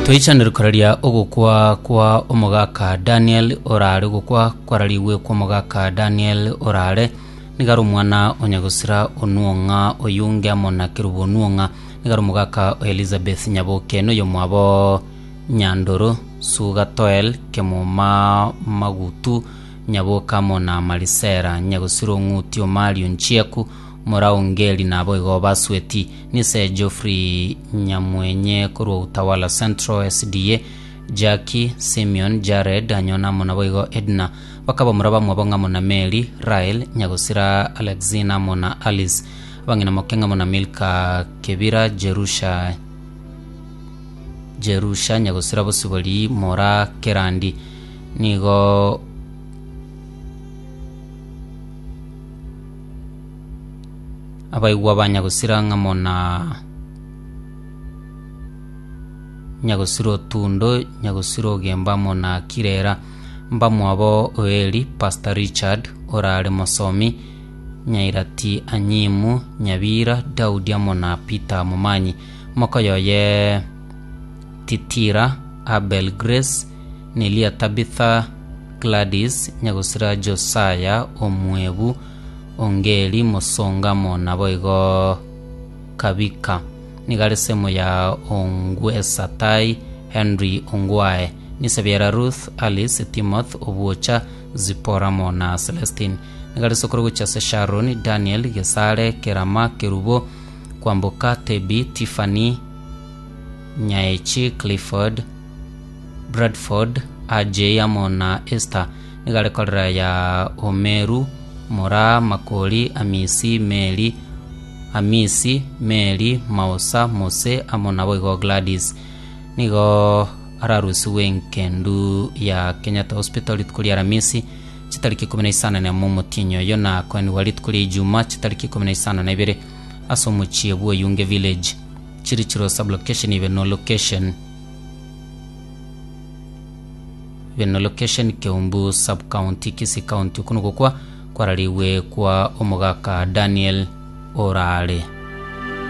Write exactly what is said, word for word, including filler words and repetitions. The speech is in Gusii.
Toichanire koraria ogokwa kwa omogaka Daniel Orare. Ogokwa kwarariwe kwa omogaka Daniel Orare nigaro omwana onyagosira onuong'a oyunge amo na kerubo onuong'a nigaro omogaka o Elizabeth Nyaboke noyo mwabo Nyandoro Suga Toel Kemuma Magutu Nyaboke amo na Marisera Nyagosira Ong'uti Omario Nchieku Moraongeri nabo igo basweti nise Geoffrey Nyamwenye korwa Utawala Central S D A Jackie Simeon Jared anyona amo nabo igo Edna bakaba muraba mwabo ng'amo na Mary Rael Nyagosira Alexina amo na Alice abang'ina moke ng'amo na Milka Kebira Jerusha Jerusha Nyagosira Bosibori Mora Kerandi nigo abaigwa ba Nyagosira ng'amo na Nyagosira Otundo Nyagosira Ogemba amo na Kirera mbamwabo Oeli Pastor Richard Orare Mosomi Nyairati Anyimu Nyabira Daudi amo na Peter Momanyi mokoyoye Titira Abel Grace Nelia Tabitha Gladys Nyagosira Josiah Omwebu Ongeri Mosonga amo nabo igo Kabika nigare semo ya Ongwesa Tai Henry Ongwae Nisebiera Ruth Alice Timoth Obuocha Zipora amo na Celestine nigare sokoro gocha se Sharon Daniel Gesare Kerama Kerubo Kwamboka Tebi Tiffany Nyaechi Clifford Bradford A J amo na Esther nigare korera ya Omeru Mora Makori Amisi Mary Amisi Mary Mausa Mose amo nabo igo Gladys nigo ararusiwe nkendu ya Kenyatta Hospital rituko ria Aramisi chitariki ikumi na isano na emo omotinyo oyo na koenigwa rituko ria Ijuma chitariki ikumi na isano na ibere ase omochie bwa Oyunge Village Chirichiro sublocation ibe no location ibe no location Keumbu sub county Kisii County okuno gokwa kwarariwe kwa omogaka Daniel Orare.